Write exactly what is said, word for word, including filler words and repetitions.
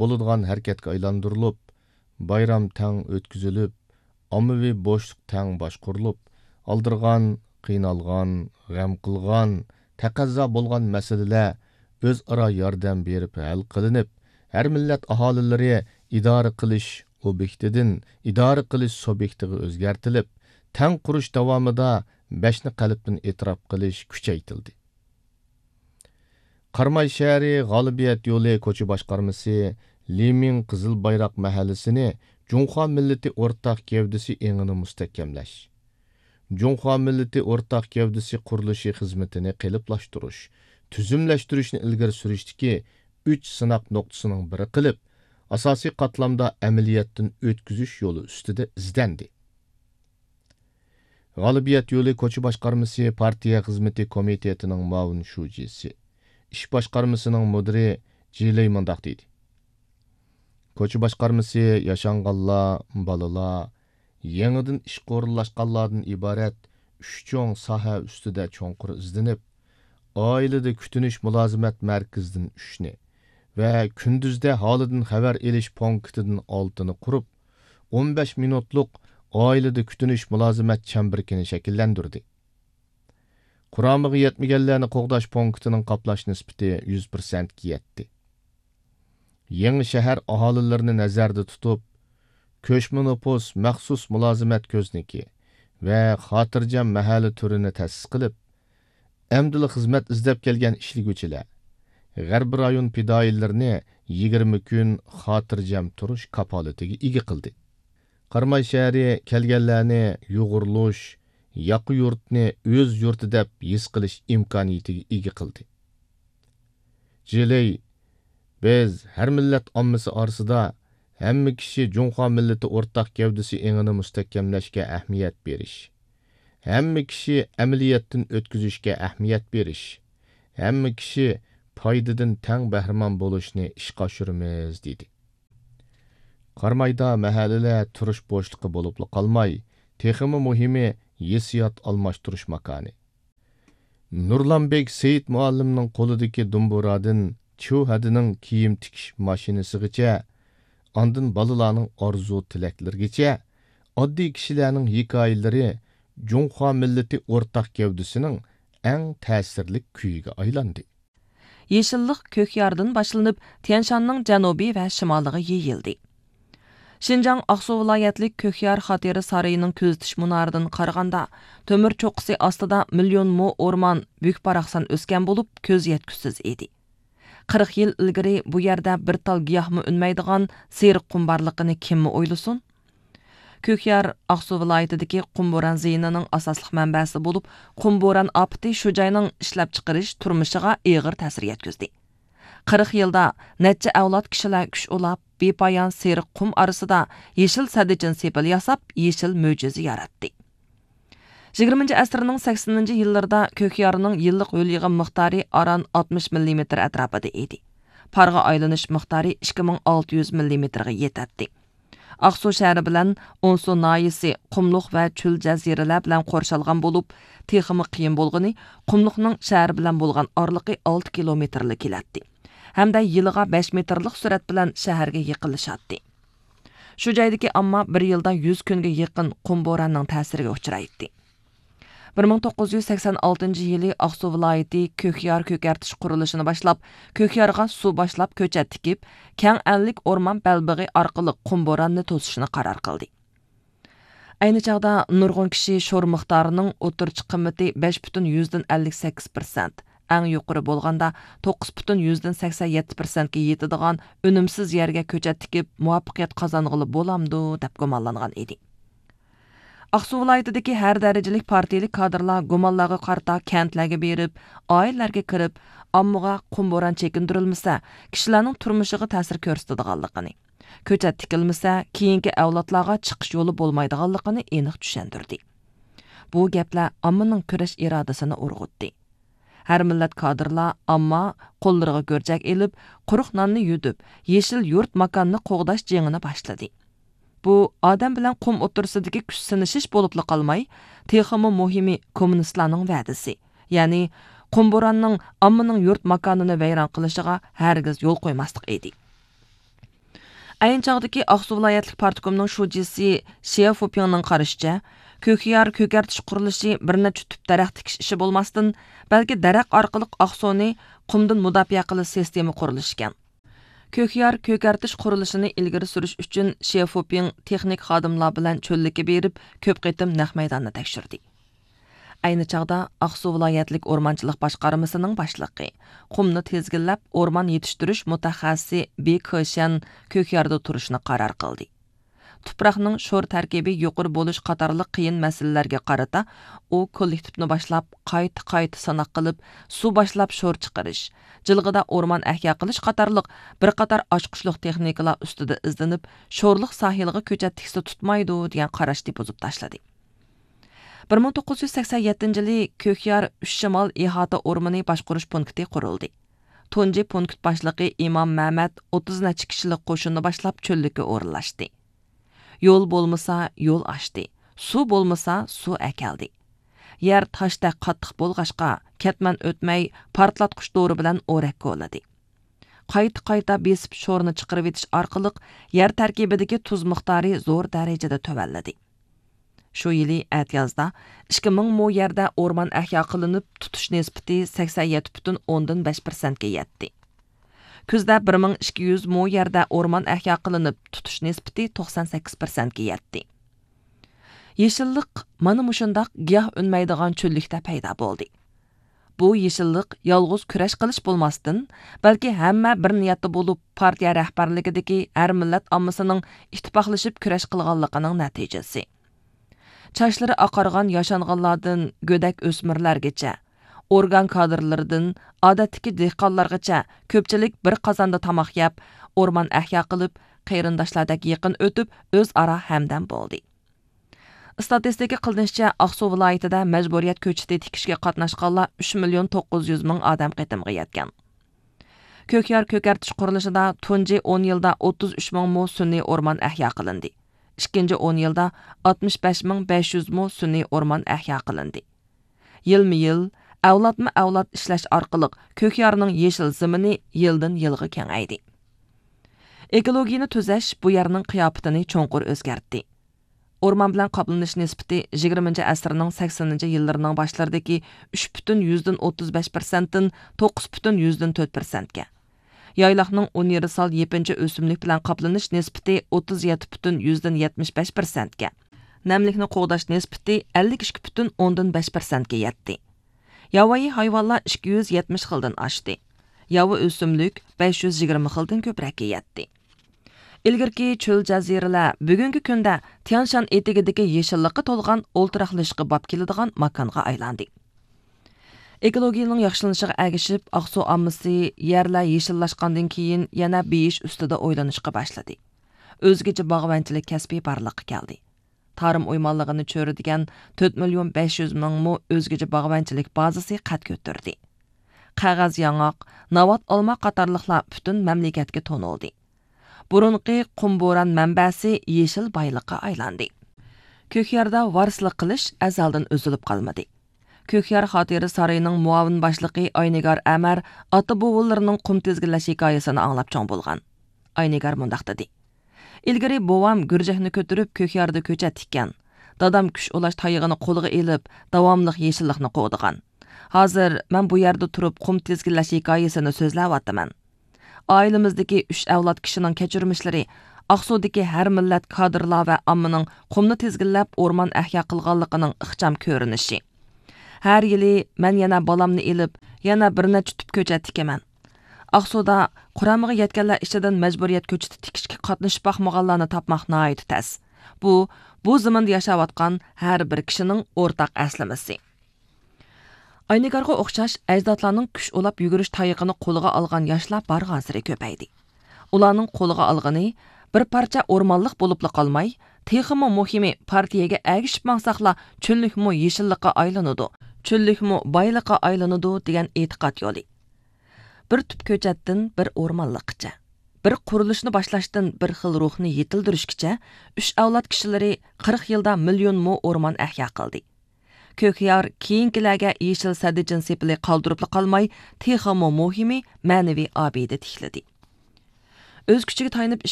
بولىدىغان ھەرىكەتكە ئايلاندۇرۇلۇپ، بايرام تەڭ ئۆتكۈزۈلۈپ، ئاممىۋى بوشلۇق تەڭ باشقۇرۇلۇپ، ئالدىرىغان، قىينالغان، غەم قىلغان، تەقەززا بولغان مەسىلىلەر ئۆزئارا ياردەم بېرىپ ھەل قىلىنىپ، ھەر مىللەت ئاھالىلىرى ئىدارە قىلىش ئوبيېكتىدىن ئىدارە قىلىش سۇبيېكتىغا ئۆزگەرتىلىپ، تەڭ قۇرۇش داۋامىدا بەشنى قەلبتىن ئېتىراپ قىلىش كۈچەيتىلدى. قاراماي شەھىرى غالىبىيەت يولى كوچا باشقارمىسى لى مىڭ قىزىل بايراق مەھەللىسىنى جۇڭخۇا مىللىتى ئورتاق گەۋدىسى ئېڭىنى مۇستەھكەملەش، جۇڭخۇا مىللىتى ئورتاق گەۋدىسى قۇرۇلۇشى خىزمىتىنى قېلىپلاشتۇرۇش، تۈزۈملەشتۈرۈشنى ئىلگىرى سۈرۈشتىكى ئۈچ سىناق نۇقتىسىنىڭ بىرى قىلىپ، ئاساسىي قاتلامدا ئەمەلىيەتتىن ئۆتكۈزۈش يولى ئۈستىدە ئىزدەندى. غالىبىيەت يولى كوچا باشقارمىسى پارتىيە خىزمىتى كومىتېتىنىڭ مۇئاۋىن شۇجىسى، ئىش باشقارمىسىنىڭ مۇدىرى جىلېي مۇنداق دېدى: كوچا باشقارمىسى ياشانغانلار، بالىلار، يېڭىدىن ئىشقا ئورۇنلاشقانلاردىن ئىبارەت ئۈچ چوڭ ساھە ئۈستىدە چوڭقۇر ئىزدىنىپ، ئائىلىدە كۈتۈنۈش مۇلازىمەت مەركىزىدىن ئۈچنى ۋە كۈندۈزدە ھالىدىن خەۋەر ئېلىش پونكىتىدىن ئالتىنى قۇرۇپ، ئون بەش مىنۇتلۇق ئائىلىدە كۈتۈنۈش مۇلازىمەت چەمبىرىكىنى شەكىللەندۈردى. قۇرامىغا يەتمىگەنلەرنى قوغداش پونكىتىنىڭ قاپلاش نىسبىتى يۈز پىرسەنتكە يەتتى. يېڭى شەھەر ئاھالىلىرىنى نەزەردە تۇتۇپ، كۆچمە نوپۇس مەخسۇس مۇلازىمەت كۆزنىكى ۋە خاتىرجەم مەھەللە تۈرىنى تەسىس قىلىپ، ئەمدىلا خىزمەت ئىزدەپ كەلگەن ئىشلىگۈچىلەر، غەربىي رايون پىدائىيلىرىنى يىگىرمە كۈن خاتىرجەم تۇرۇش كاپالىتىگە ئىگە قىلدى. قاراماي شەھىرى كەلگەنلەرنى يۇغۇرۇلۇش، ياقا يۇرتنى ئۆز يۇرتى دەپ ھېس قىلىش ئىمكانىيىتىگە ئىگە قىلدى. جىلېي، بىز ھەر مىللەت ئاممىسى ئارىسىدا ھەممە كىشى جۇڭخۇا مىللىتى ئورتاق گەۋدىسى ئېڭىنى مۇستەھكەملەشكە ئەھمىيەت بېرىش، ھەممە كىشى ئەمەلىيەتتىن ئۆتكۈزۈشكە ئەھمىيەت بېرىش، ھەممە كىشى پايدىدىن تەڭ بەھرىمەن بولۇشنى ئىشقا ئاشۇرىمىز، دېدى. قارامايدا مەھەللىلەر تۇرۇش بوشلۇقى بولۇپلا قالماي، تېخىمۇ مۇھىمى ھېسسىيات ئالماشتۇرۇش ماكانى. نۇرلانبېك سېيىت مۇئەللىمنىڭ قولىدىكى دۇمبۇرادىن چيۇ ھەدىنىڭ كىيىم تىكىش ماشىنىسىغىچە، ئاندىن بالىلارنىڭ ئارزۇ تىلەكلىرىگىچە ئاددىي كىشىلەرنىڭ ھېكايىلىرى جۇڭخۇا مىللىتى ئورتاق گەۋدىسىنىڭ ئەڭ تەسىرلىك كۈيىگە ئايلاندى. يېشىللىق كۆكياردىن باشلىنىپ، تيەنشاننىڭ جەنۇبى ۋە شىمالىغا يېيىلدى. شىنجاڭ ئاقسۇ ۋىلايەتلىك كۆكيار خاتىرە سارىيىنىڭ كۆزىتىش مۇنارىدىن قارىغاندا، تۆمۈر چوققىسى ئاستىدا مىليون مو ئورمان بۈك-باراقسان ئۆسكەن بولۇپ، كۆز يەتكۈسىز ئىدى. قىرىق يىل ئىلگىرى بۇ يەردە بىر تال گىياھمۇ ئۈنمەيدىغان سېرىق قۇم بارلىقىنى كىممۇ ئويلىسۇن؟ كۆكيار ئاقسۇ ۋىلايىتىدىكى قۇم بوران زىيىنىنىڭ ئاساسلىق مەنبەسى بولۇپ، قۇم بوران ئاپىتى شۇ جاينىڭ ئىشلەپچىقىرىش تۇرمۇشىغا ئېغىر تەسىر يەتكۈزدى. قىرىق يىلدا نەچچە ئەۋلاد كىشىلەر كۈچ ئۇلاپ، بىپايان سېرىق قۇم ئارىسىدا يېشىل سەددىچىن سېپىل ياساپ، يېشىل مۆجىزە ياراتتى. يىگىرمىنچى ئەسىرنىڭ سەكسىنىنچى يىللىرىدا كۆكيارنىڭ يىللىق ھۆل يىغىم مىقدارى ئاران ئاتمىش مىللىمېتىر ئەتراپىدا ئىدى. پارغا ئايلىنىش مىقدارى ئىككى مىڭ ئالتە يۈز مىللىمېتىرغا يېتەتتى. ئاقسۇ شەھىرى بىلەن ئونسۇ ناھىيەسى قۇملۇق ۋە چۆل جەزىرىلەر بىلەن قورشالغان بولۇپ، تېخىمۇ قىيىن بولغىنى، قۇملۇقنىڭ شەھەر بىلەن بولغان ئارىلىقى ئالتە كىلومېتىرلا كېلەتتى ھەمدە يىلىغا بەش مېتىرلىق سۈرئەت بىلەن شەھەرگە يېقىنلىشاتتى. شۇ جايدىكى ئامما بىر يىلدا يۈز كۈنگە يېقىن قۇم بوراننىڭ تەسىرىگە ئۇچرايتتى. بىر مىڭ توققۇز يۈز سەكسەن ئالتىنچى يىلى ئاقسۇ ۋىلايىتى كۆكيار كۆكەرتىش قۇرۇلۇشىنى باشلاپ، كۆكيارغا سۇ باشلاپ كۆچەت تىكىپ، كەڭ ئەللىك ئورمان بەلبېغى ئارقىلىق قۇم بوراننى توسۇشنى قارار قىلدى. ئەينى چاغدا نۇرغۇن كىشى شور مىقدارىنىڭ ئوتتۇرىچە قىممىتى بەش پۈتۈن يۈزدىن ئەللىك سەككىز پىرسەنت، ئەڭ يۇقىرى بولغاندا توققۇز پۈتۈن يۈزدىن سەكسەن يەتتە پىرسەنتكە يېتىدىغان ئۈنۈمسىز يەرگە كۆچەت تىكىپ، مۇۋەپپەقىيەت قازانغىلى بولامدۇ، دەپ گۇمانلانغان ئىدى. ئاقسۇ ۋىلايىتىدىكى ھەر دەرىجىلىك پارتىيىلىك كادىرلار گۇمانلارغا قارىتا كەنتلەرگە بېرىپ، ئائىلىلەرگە كىرىپ، ئاممىغا قۇم بوران چېكىندۈرۈلمىسە، كىشىلەرنىڭ تۇرمۇشىغا تەسىر كۆرسىتىدىغانلىقىنى، كۆچەت تىكىلمىسە، كېيىنكى ئەۋلادلارغا چىقىش يولى بولمايدىغانلىقىنى ئېنىق چۈشەندۈردى. بۇ گەپلەر ئاممىنىڭ كۈرەش ئىرادىسىنى ئۇرغۇتتى. ھەر مىللەت كادىرلار، ئامما قوللىرىغا گۈرجەك ئېلىپ، قۇرۇق ناننى يۈدۈپ، يېشىل يۇرت ماكاننى قوغداش جېڭىنى باشلىدى. بۇ ئادەم بىلەن قۇم ئوتتۇرىسىدىكى كۈچ سىنىشىش بولۇپلا قالماي، تېخىمۇ مۇھىمى كوممۇنىستلارنىڭ ۋەدىسى، يەنى قۇم بوراننىڭ ئاممىنىڭ يۇرت ماكانىنى ۋەيران قىلىشىغا ھەرگىز يول قويماسلىق ئىدى. ئەينى چاغدىكى ئاقسۇ ۋىلايەتلىك پارتكومنىڭ شۇجىسى شيې فۇپىڭنىڭ قارىشىچە، كۆكيار كۆكەرتىش قۇرۇلۇشى بىر نەچچە تۈپ دەرەخ تىكىش ئىشى بولماستىن، بەلكى دەرەخ ئارقىلىق ئاقسۇنى قۇمدىن مۇداپىئە قىلىش سىستېما قۇرۇلۇشى ئىكەن. كۆكيار كۆكەرتىش قۇرۇلۇشىنى ئىلگىرى سۈرۈش ئۈچۈن شيې فۇپىڭ تېخنىك خادىملار بىلەن چۆللۈككە بېرىپ، كۆپ قېتىم نەق مەيداننى تەكشۈردى. ئەينى چاغدا ئاقسۇ ۋىلايەتلىك ئورمانچىلىق باشقارمىسىنىڭ باشلىقى، قۇمنى تىزگىنلەپ ئورمان يېتىشتۈرۈش مۇتەخەسسىسى بى كېشيەن كۆكياردا تۇرۇشنى قارار قىلدى. تۇپراقنىڭ شور تەركىبى يۇقىرى بولۇش قاتارلىق قىيىن مەسىلىلەرگە قارىتا، ئۇ كوللېكتىپنى باشلاپ، قايتا-قايتا ساناق قىلىپ، سۇ باشلاپ شور چىقىرىش، جىلغىدا ئورمان ئەھيا قىلىش قاتارلىق بىر قاتار ئاچقۇچلۇق تېخنىكىلار ئۈستىدە ئىزدىنىپ، شورلۇق ساھىلىغا كۆچەت تىكسە تۇتمايدۇ، دېگەن قاراشنى بۇزۇپ تاشلىدى. بىر مىڭ توققۇز يۈز سەكسەن يەتتىنچى يىلى كۆكيار ئۈچ شىمال ئىھاتە ئورمىنى باشقۇرۇش پونكىتى قۇرۇلدى. تۇنجى پونكىت باشلىقى ئىمام مەمەت ئوتتۇز نەچچە كىشىلىك قوشۇننى باشلاپ چۆللۈككە ئورۇنلاشتى. يول بولمىسا، يول ئاچتى. سۇ بولمىسا، سۇ ئەكەلدى. يەر تاشتەك قاتتىق بولغاچقا، كەتمەن ئۆتمەي پارتلاتقۇچ دورا بىلەن ئورەك كولىدى. قايتا-قايتا بېسىپ شورنى چىقىرىۋېتىش ئارقىلىق يەر تەركىبىدىكى تۇز مىقدارى زور دەرىجىدە تۆۋەنلىدى. شۇ يىلى ئەتىيازدا ئىككى مىڭ مو يەردە ئورمان ئەھيا قىلىنىپ، تۇتۇش نىسبىتى سەكسەن يەتتە پۈتۈن ئوندىن بەش پىرسەنتكە يەتتى. كۈزدە بىر مىڭ ئىككى يۈز مو يەردە ئورمان ئەھيا قىلىنىپ، تۇتۇش نىسبىتى توقسان سەككىز پىرسەنتكە يەتتى. يېشىللىق مانا مۇشۇنداق گىياھ ئۈنمەيدىغان چۆللۈكتە پەيدا بولدى. بۇ يېشىللىق يالغۇز كۈرەش قىلىش بولماستىن، بەلكى ھەممە بىر نىيەتتە بولۇپ، پارتىيە رەھبەرلىكىدىكى ھەر مىللەت ئاممىسىنىڭ ئىتتىپاقلىشىپ كۈرەش قىلغانلىقىنىڭ نەتىجىسى. چاچلىرى ئاقارغان ياشانغانلاردىن گۆدەك ئۆسمۈرلەرگىچە، ئورگان كادىرلىرىدىن ئادەتتىكى دېھقانلارغىچە كۆپچىلىك بىر قازاندا تاماق يەپ، ئورمان ئەھيا قىلىپ، قېرىنداشلاردەك يېقىن ئۆتۈپ، ئۆزئارا ھەمدەم بولدى. ئىستاتىستىكا قىلىنىشىچە، ئاقسۇ ۋىلايىتىدە مەجبۇرىيەت كۆچىتى تىكىشكە قاتناشقانلار ئۈچ مىليون توققۇز يۈز مىڭ ئادەم قېتىمغا يەتكەن. كۆكيار كۆكەرتىش قۇرۇلۇشىدا تۇنجى ئون يىلدا ئوتتۇز ئۈچ مىڭ مو سۈنئىي ئورمان ئەھيا قىلىندى. ئىككىنچى ئون يىلدا ئاتمىش بەش مىڭ بەش يۈز مو سۈنئىي ئورمان ئەھيا قىلىندى. يىلمۇ يىل، ئەۋلادمۇ ئەۋلاد ئىشلەش ئارقىلىق كۆكيارنىڭ يېشىل زېمىنى يىلدىن يىلغا كېڭەيدى. ئېكولوگىيىنى تۈزەش بۇ يەرنىڭ قىياپىتىنى چوڭقۇر ئۆزگەرتتى. ئورمان بىلەن قاپلىنىش نىسبىتى يىگىرمىنچى ئەسىرنىڭ سەكسىنىنچى يىللىرىنىڭ باشلىرىدىكى ئۈچ پۈتۈن يۈزدىن ئوتتۇز بەش پىرسەنتتىن توققۇز پۈتۈن يۈزدىن تۆت پىرسەنتكە، يايلاقنىڭ ئۇنىۋېرسال يېپىنچا ئۆسۈملۈك بىلەن قاپلىنىش نىسبىتى ئوتتۇز يەتتە پۈتۈن يۈزدىن يەتمىش بەش پىرسەنتكە، نەملىكنى قوغداش نىسبىتى ئەللىك ئىككى پۈتۈن ئوندىن بەش پىرسەنتكە يەتتى. ياۋايى ھايۋانلار ئىككى يۈز يەتمىش خىلدىن ئاشتى. ياۋا ئۆسۈملۈك بەش يۈز يىگىرمە خىلدىن كۆپرەككە يەتتى. ئىلگىرىكى چۆل جەزىرىلەر بۈگۈنكى كۈندە تيانشان ئېتىكىدىكى يېشىللىققا تولغان ئولتۇراقلىشىشقا باب كېلىدىغان ماكانغا ئايلاندى. ئېكولوگىيىنىڭ ياخشىلىنىشىغا ئەگىشىپ، ئاقسۇ ئاممىسى يەرلەر يېشىللاشقاندىن كېيىن يەنە بېيىش ئۈستىدە ئويلىنىشقا باشلىدى. ئۆزگىچە باغۋەنچىلىك كەسپى بارلىققا كەلدى. تارىم ئويمانلىقىنى چۆرىدىگەن تۆت مىليون بەش يۈز مىڭ مو ئۆزگىچە باغۋەنچىلىك بازىسى قەد كۆتۈردى. قەغەز ياڭاق، ناۋات ئالما قاتارلىقلار پۈتۈن مەملىكەتكە تونۇلدى. بۇرۇنقى قۇم بوران مەنبەسى يېشىل بايلىققا ئايلاندى. كۆكياردا ۋارىسلىق قىلىش ئەزەلدىن ئۈزۈلۈپ قالمىدى. كۆكيار خاتىرە سارىيىنىڭ مۇئاۋىن باشلىقى ئاينىگار ئەمەر ئاتا بوۋىلىرىنىڭ قۇم تىزگىنلەش ھېكايىسىنى ئاڭلاپ چوڭ بولغان. ئاينىگار مۇنداق دېدى: ئىلگىرى بوۋام گۈرجەكنى كۆتۈرۈپ كۆكياردا كۆچەت تىككەن. دادام كۈچ ئۇلاش تايىقىنى قولىغا ئېلىپ، داۋاملىق يېشىللىقنى قوغدىغان. ھازىر مەن بۇ يەردە تۇرۇپ قۇم تىزگىنلەش ھېكايىسىنى سۆزلەۋاتىمەن. ئائىلىمىزدىكى ئۈچ ئەۋلاد كىشىنىڭ كەچۈرمىشلىرى ئاقسۇدىكى ھەر مىللەت كادىرلار ۋە ئاممىنىڭ قۇمنى تىزگىنلەپ ئورمان ئەھيا قىلغانلىقىنىڭ ئىخچام كۆرۈنۈشى. ھەر يىلى مەن يەنە بالامنى ئېلىپ، يەنە بىر نەچچە تۈپ كۆچەت تىكىمەن. ئاقسۇدا قۇرامىغا يەتكەنلەر ئىچىدىن مەجبۇرىيەت كۆچىتى تىكىشكە قاتنىشىپ باقمىغانلارنى تاپماق ناھايىتى تەس. بۇ، بۇ زېمىندا ياشاۋاتقان ھەر بىر كىشىنىڭ ئورتاق ئەسلىمىسى. ئاينىگارغا ئوخشاش ئەجدادلارنىڭ كۈچ ئۇلاپ يۈگۈرۈش تايىقىنى قولىغا ئالغان ياشلار بارغانسېرى كۆپەيدى. ئۇلارنىڭ قولىغا ئالغىنى بىر پارچە ئورمانلىق بولۇپلا قالماي، تېخىمۇ مۇھىمى، پارتىيەگە ئەگىشىپ ماڭساقلا، چۆللۈكمۇ يېشىللىققا ئايلىنىدۇ، چۆللۈكمۇ بايلىققا ئايلىنىدۇ، دېگەن ئېتىقاد يولى. بىر تۈپ كۆچەتتىن بىر ئورمانلىققىچە، بىر قۇرۇلۇشنى باشلاشتىن بىر خىل روھنى يېتىلدۈرۈشكىچە، ئۈچ ئەۋلاد كىشىلىرى قىرىق يىلدا مىليون مو ئورمان ئەھيا قىلدى. كۆكيار كېيىنكىلەرگە يېشىل سەددىچىن سېپىلى قالدۇرۇپلا قالماي، تېخىمۇ مۇھىمى، مەنىۋى ئابىدە تىكلىدى. ئۆز كۈچىگە تايىنىپ ئىش